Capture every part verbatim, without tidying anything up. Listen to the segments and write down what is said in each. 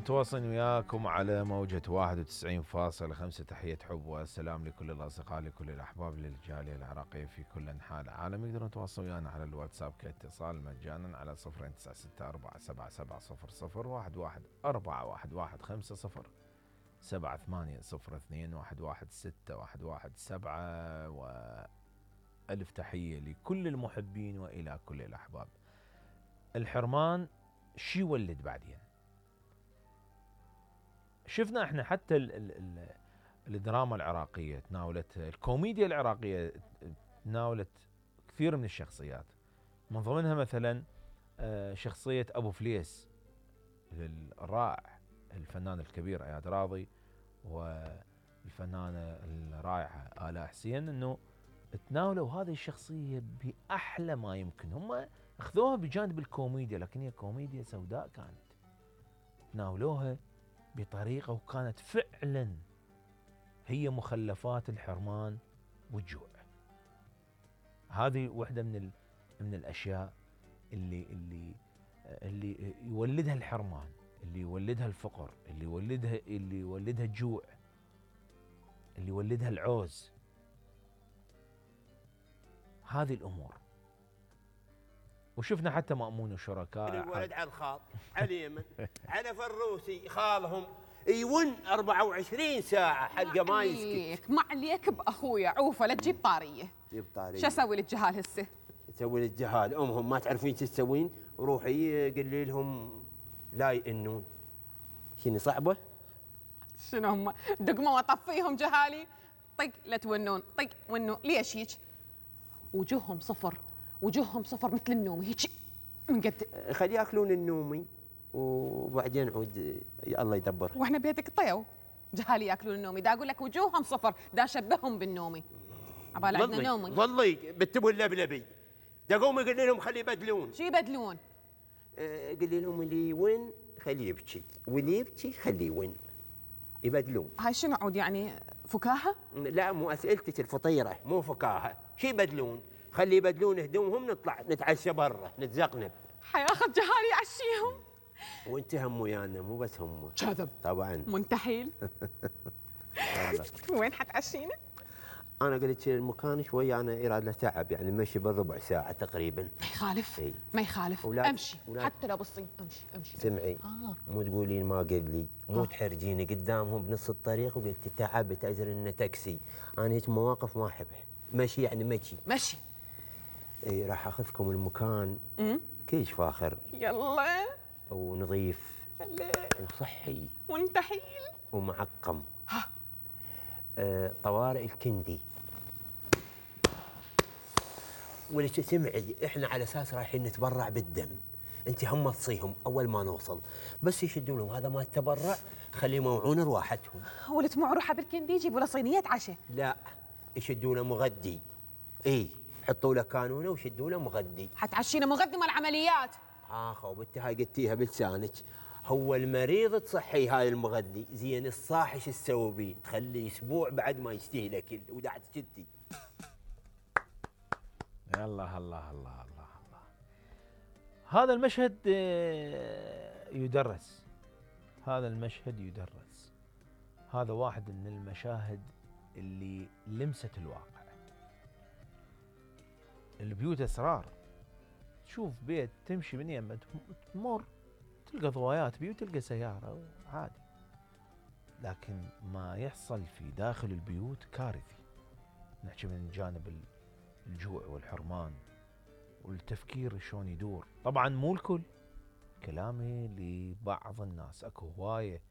متواصلين وياكم على موجة واحد وتسعين فاصلة خمسة. تحية حب والسلام لكل الأصدقاء لكل الأحباب للجالية العراقية في كل أنحاء العالم. يقدرون يتواصلون ويانا على الواتساب كاتصال مجانا على صفر تسعة ستة أربعة سبعة سبعة صفر صفر واحد واحد أربعة واحد واحد خمسة صفر سبعة ثمانية صفر اثنين واحد واحد ستة واحد واحد سبعة. وألف تحية لكل المحبين وإلى كل الأحباب. الحرمان شي يولد بعدين؟ شفنا احنا حتى ال ال ال الدراما العراقية تناولت، الكوميديا العراقية تناولت كثير من الشخصيات، من ضمنها مثلا شخصية أبو فليس الرائع الفنان الكبير اياد راضي والفنانة الرائعة آلاء حسين، انه تناولوا هذه الشخصية بأحلى ما يمكن. هم اخذوها بجانب الكوميديا لكن هي كوميديا سوداء كانت، تناولوها بطريقة وكانت فعلا هي مخلفات الحرمان والجوع. هذه واحدة من من الأشياء اللي اللي اللي يولدها الحرمان، اللي يولدها الفقر، اللي يولدها اللي يولدها الجوع، اللي يولدها العوز. هذه الأمور. وشفنا حتى مأمون وشركاء الولد على الخاط على اليمن على فروسي خالهم يون أربعة وعشرين ساعة حلقة ما يسكت. ما عليك بأخويا عوفة لا تجيب طارية. جيب طارية. شو أسوي للجهال هسه؟ تسوي للجهال أمهم ما تعرفين شو تسوين؟ روحي قولي لهم لا يئنون. شنو صعبة؟ شنو هم؟ دقمة وأطفيهم جهالي؟ طق لا تونون، طق ونو. ليش هيك؟ وجوههم صفر، وجوههم صفر مثل النومي هيك من قد. خلي ياكلون النومي وبعدين عود الله يدبر. واحنا بيتك طيو جهالي ياكلون النومي، دا اقول لك وجوههم صفر، دا شبههم بالنومي. عبال عندنا نومي. ظلي بتبوا اللبلبي. دا قومي قولي لهم خلي يبدلون. شو يبدلون؟ آه قولي لهم اللي وين خليه يبكي، واللي يبكي خليه وين. يبدلون. هاي شنو عود يعني فكاهة؟ لا مو اسئلتك الفطيرة مو فكاهة، شو يبدلون؟ خلي يبدلون هدومهم نطلع نتعشى برا نتزقنب. حياخذ جهالي يعشيهم. وانت هم ويانا مو بس هم. كذب. طبعا. منتحيل. وين حتعشينا؟ انا قلت المكان شوي انا يراد له تعب يعني مشي بالربع ساعة تقريبا. ما يخالف. اي. ما يخالف. أولاد. امشي أولاد. حتى لو بالصين امشي امشي. سمعي. آه. مو تقولين ما قل لي، مو آه. تحرجيني قدامهم بنص الطريق وقلت تعبت ازر انه تاكسي، انا هيك مواقف ما احبها. مشي يعني مشي. مشي. اي راح اخذكم المكان امم كلش فاخر. يلا. ونظيف. هلا. وصحي. منتحيل. ومعقم. ها. آه طوارئ الكندي. ولك سمعي احنا على اساس رايحين نتبرع بالدم، انت هم تصيهم اول ما نوصل بس يشدوا لهم هذا ما التبرع خليه موعون رواحتهم. ولت مع روحه بالكندي يجيبوا له صينيه عشاء. لا يشدوا له مغدي. اي حطوا له كانونه وشدوا له مغدي. حتعشينا مغدي مال عمليات. اخ وبنتي هاي قلتيها بلسانك. هو المريض تصحي هاي المغذي، زين الصاحي شو تسوي بيه؟ تخليه اسبوع بعد ما يستهلك ودعت جدي. الله الله الله الله الله. هذا المشهد يدرس، هذا المشهد يدرس. هذا واحد من المشاهد اللي لمست الواقع. البيوت اسرار. تشوف بيت تمشي من يمه تمر تلقى ضوايات بيوت تلقى سياره عادي، لكن ما يحصل في داخل البيوت كارثي. نحكي من جانب الجوع والحرمان والتفكير شلون يدور. طبعا مو الكل، كلامي لبعض الناس. اكو هوايه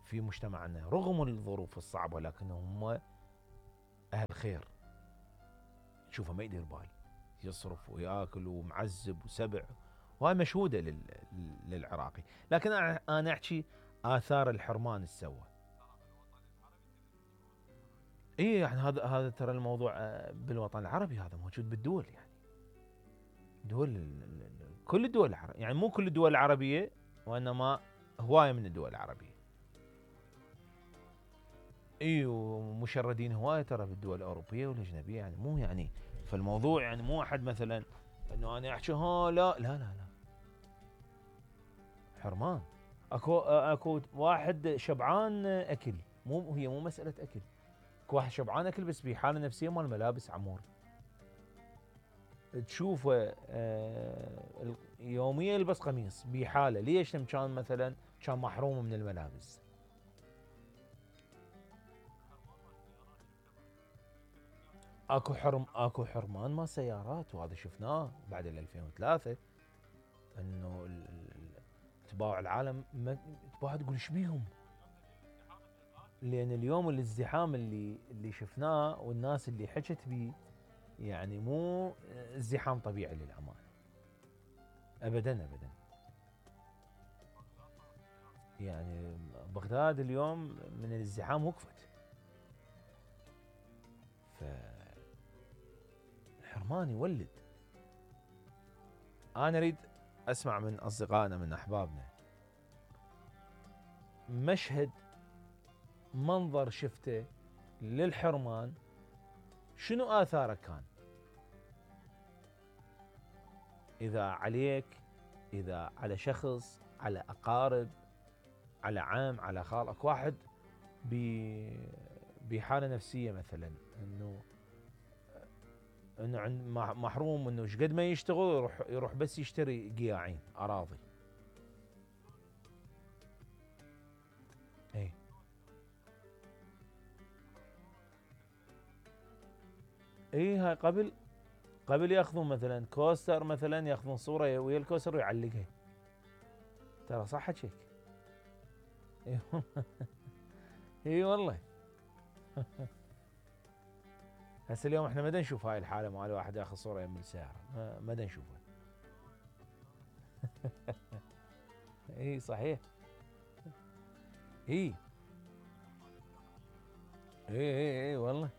في مجتمعنا رغم الظروف الصعبه لكنهم هم اهل خير. تشوفه ما يدير بال، يصرف وياكل ومعزب وسبع، وهاي مشهوده للعراقي. لكن انا احكي اثار الحرمان ايش سوى. اي يعني هذا هذا ترى الموضوع بالوطن العربي، هذا موجود بالدول، يعني دول كل الدول العربية، يعني مو كل الدول العربية وانما هوايه من الدول العربية. اي ومشردين هوايه ترى بالدول الاوروبيه والاجنبيه، يعني مو يعني فالموضوع يعني مو احد مثلا انه انا احكي ها لا لا لا لا حرمان. اكو اكو واحد شبعان اكل، مو هي مو مساله اكل، اكو واحد شبعان اكل بس بحاله نفسيه مال ملابس عمور. تشوفه آه يوميا يلبس قميص بحاله، ليش؟ لأن كان مثلا كان محروم من الملابس. اكو حرم اكو حرمان مال سيارات، وهذا شفناه بعد ال ألفين وثلاثة، انه ال- ال- تباع العالم ما تباع تقول ايش بيهم؟ لان اليوم الازدحام اللي اللي شفناه والناس اللي حكت بيه يعني مو ازدحام طبيعي للامانه. ابدا ابدا. يعني بغداد اليوم من الازدحام وقفت. فالحرمان يولد. انا اريد اسمع من اصدقائنا من احبابنا مشهد، منظر شفته للحرمان، شنو آثاره كان؟ إذا عليك، إذا على شخص، على أقارب، على عم، على خال. اكو واحد بحالة نفسية مثلا، انه انه عند محروم، انه ايش قد ما يشتغل يروح يروح بس يشتري قياعين اراضي. اي اي هاي قبل قبل ياخذون مثلا كوستر، مثلا ياخذون صوره ويا الكوستر ويعلقها. ترى صح حكيك. اي اي والله. هسه اليوم احنا ما دا نشوف هاي الحاله مال واحد ياخذ صوره يم السياره، ما, ما دا نشوفها. اي صحيح. اي اي اي اي والله.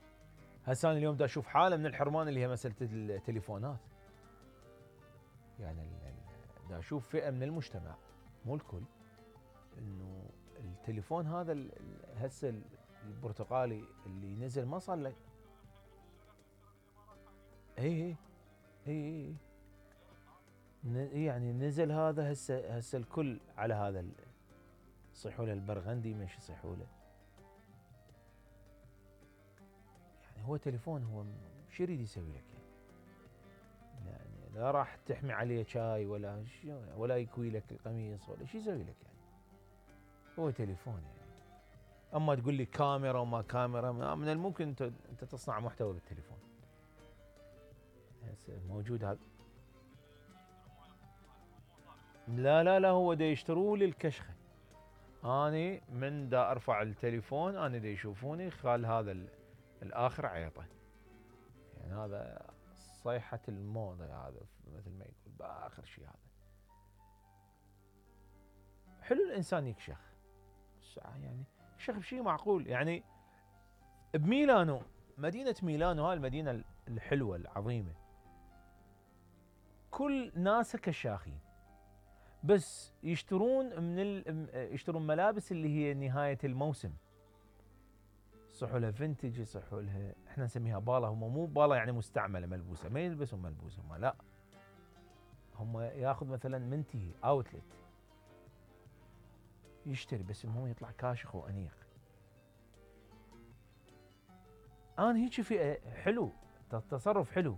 هسه انا اليوم دا اشوف حاله من الحرمان اللي هي مساله التليفونات. يعني دا اشوف فئه من المجتمع، مو الكل، انه التليفون هذا هسه البرتقالي اللي نزل ما صار له. اي اي اي يعني نزل هذا هسه هسه الكل على هذا، يصيحوا له البرغندي، مش يصيحوا له. يعني هو تليفون، هو شو يريد يسوي لك يعني؟ يعني لا راح تحمي عليه شاي ولا ولا يكوي لك القميص ولا شو يسوي لك يعني؟ هو تليفون يعني. اما تقول لي كاميرا وما كاميرا، من الممكن انت انت تصنع محتوى بالتليفون. موجود هذا. لا لا لا، هو دا يشتروه للكشخه. اني من دا ارفع التليفون انا دا يشوفوني خال هذا الاخر عيطه. يعني هذا صيحه الموضه، هذا مثل ما يقول باخر شيء. هذا حلو الانسان يكشخ، يعني يكشخ بشيء معقول. يعني بميلانو، مدينه ميلانو هاي المدينه الحلوه العظيمه، كل ناسها كشاخين، بس يشترون من ال... يشترون ملابس اللي هي نهايه الموسم. يصحوا لها فينتج، يصحوا لها، احنا نسميها بالا. هم مو بالا يعني مستعمله ملبوسه، ما يلبسون ملبوسه هم، لا، هم ياخذ مثلا منتهي اوتلت يشتري، بس المهم يطلع كاشخ وانيق. انا هيك في حلو، تصرف حلو.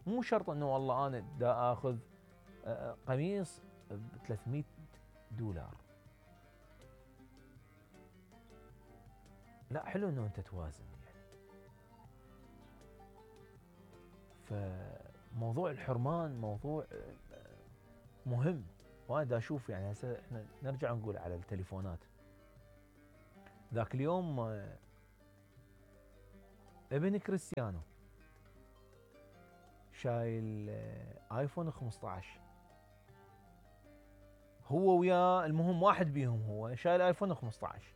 مو شرط انه والله انا دا اخذ قميص ب ثلاثمئة دولار. لا، حلو انه انت توازن يعني. فموضوع الحرمان موضوع مهم. وانا دا اشوف يعني هسه احنا نرجع نقول على التليفونات. ذاك اليوم ابن كريستيانو شايل ايفون خمسة عشر، هو وياه، المهم واحد بيهم هو شايل ايفون خمسة عشر.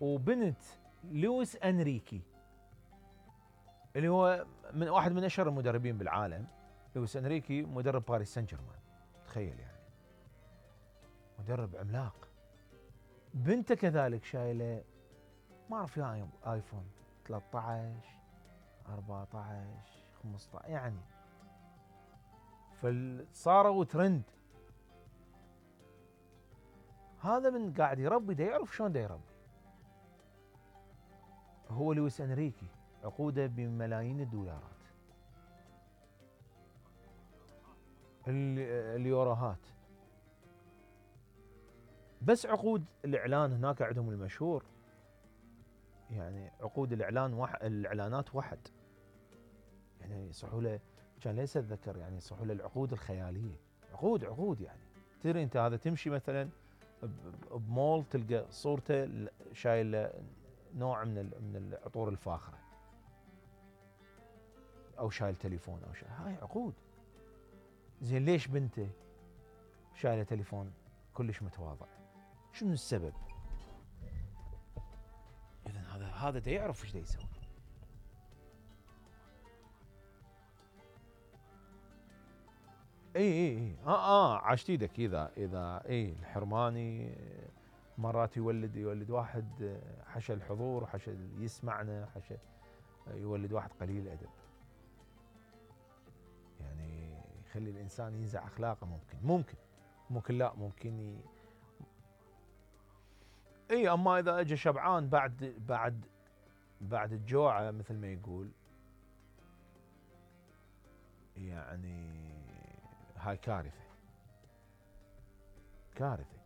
وبنت لويس انريكي اللي هو من واحد من اشهر المدربين بالعالم، لويس انريكي مدرب باريس سان جيرمان، تخيل يعني، مدرب عملاق. بنته كذلك شايله ما اعرف يا ايفون ثلاثة عشر أربعة عشر خمسة عشر يعني. فصاروا ترند. هذا من قاعد يربي دا يعرف شلون دا يربي. هو لويس انريكي عقوده بملايين الدولارات. اليوروهات. بس عقود الاعلان هناك عندهم المشهور، يعني عقود الاعلان وح... الاعلانات واحد، يعني يصحوا له، كان ليس اتذكر، يعني يصحوا له العقود الخياليه، عقود عقود يعني. تدري انت هذا تمشي مثلا بمول تلقى صورته شايل نوع من من العطور الفاخره، او شايل تليفون او شيء، هاي عقود. زين ليش بنته شايله تليفون كلش متواضع؟ شنو السبب؟ اذا هذا هذا دا يعرف ايش دا يسوي. اي اي اي اه اه عاشت ايدك. اذا اذا اي الحرماني مرات يولد يولد واحد حشى الحضور، حشى يسمعنا، حشى يولد واحد قليل ادب، يعني يخلي الانسان ينزع اخلاقه. ممكن ممكن ممكن لا ممكن ي... اي اما اذا اجى شبعان بعد بعد بعد الجوعه مثل ما يقول، يعني هاي كارثه كارثه.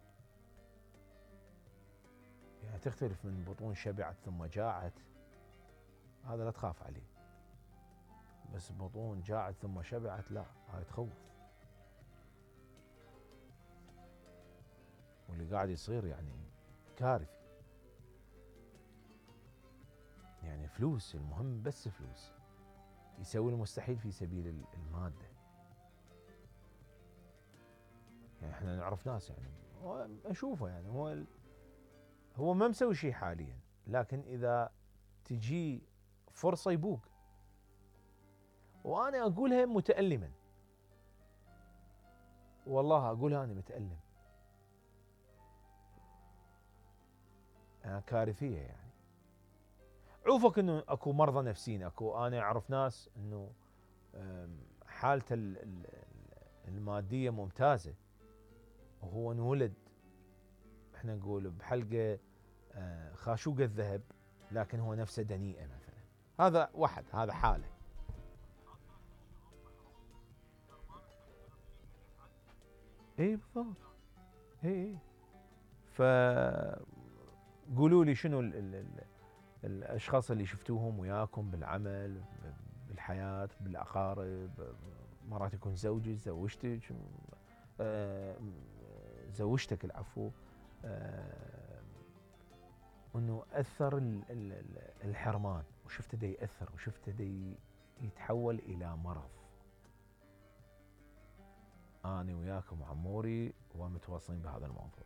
يعني تختلف من بطون شبعت ثم جاعت، هذا لا تخاف عليه. بس بطون جاعت ثم شبعت لا، هاي تخوف. واللي قاعد يصير يعني كارثي. يعني فلوس، المهم بس فلوس، يسوي المستحيل في سبيل المادة. يعني احنا نعرف ناس، يعني هو اشوفه، يعني هو هو ما مسوي شيء حاليا، لكن اذا تجي فرصة يبوق. وانا اقولها متألما، والله اقولها انا متألم، يعني كارثية. يعني عوفك انه اكو مرضى نفسيين، اكو انا اعرف ناس انه حالته المادية ممتازة، وهو انولد احنا نقول بحلقة خاشوقة الذهب، لكن هو نفسه دنيئة مثلا. هذا واحد، هذا حالة. اي بالضبط. اي اي ف قولوا لي شنو ال ال ال الاشخاص اللي شفتوهم وياكم بالعمل، بالحياة، بالاقارب، مرات يكون زوجك، زوجتك، زوجتك العفو، انه اثر الحرمان، وشفته دا ياثر، وشفته دا يتحول الى مرض. انا وياكم عموري ومتواصلين بهذا الموضوع.